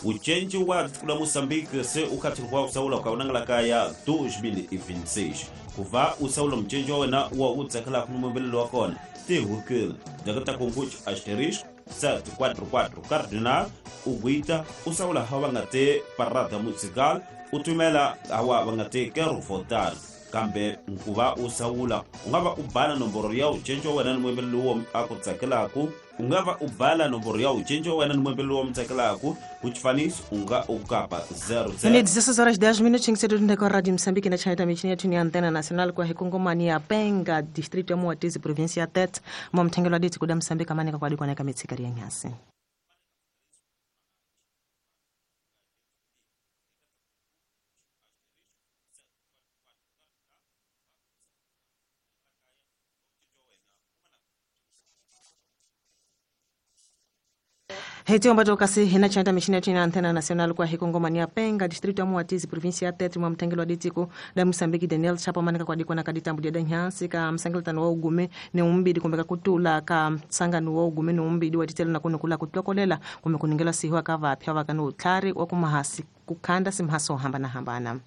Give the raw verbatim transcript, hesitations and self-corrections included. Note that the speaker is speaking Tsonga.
Ucenci wa tiko la Moçambique se u khathiri wa usawula ka unangela kaya dois mil e vinte e seis. Ku va usawula mucenci wa wena wa u tsakelaka ni muyimbeleli wa kona tihukile dakota konguch asterisco sete quatro quatro cardinal u gwita u sawula ha va nga te parada musical u tumela hawa va nga te quero votar. Kambe nkuva u sawula u nga va u bala nomboro ya ucenci wa wena ni muyimbeleli wo a ku tsakelaku, u nga va u bala nomboro ya ucenci wa wena ni muyimbeleli wo mu tsakelaku ku xifaniso u nga u kapa zero Ni zero dezesseis horas dez minutos em sede do Rádio Moçambique na China michini yetu ni antena nacional kwa hikongomani ya Penga distrito ya Moatize província ya Tete mwa mtengelo aditi kuda Moçambique amanika kwa dikwaneka mitsikari ya nyasi. Heti ombato kasi hina chanta mishina china antena nacional kwa hikongomani ya Penga distrito ya Moatize província ya Tete mwa mtengelo aditiko da Moçambique Daniel Chapo manika kwa dikwana kaditambu dia danyansi ka msangeltano wa ugume ni umbidi kumbe kutula ka msangano wa ugume ni umbidi wa titelo na kunukula kutlokolela kumbe kuningela siwa ka vapya vakanu utlari wa kumahasi kukhanda simhaso hambana hambana.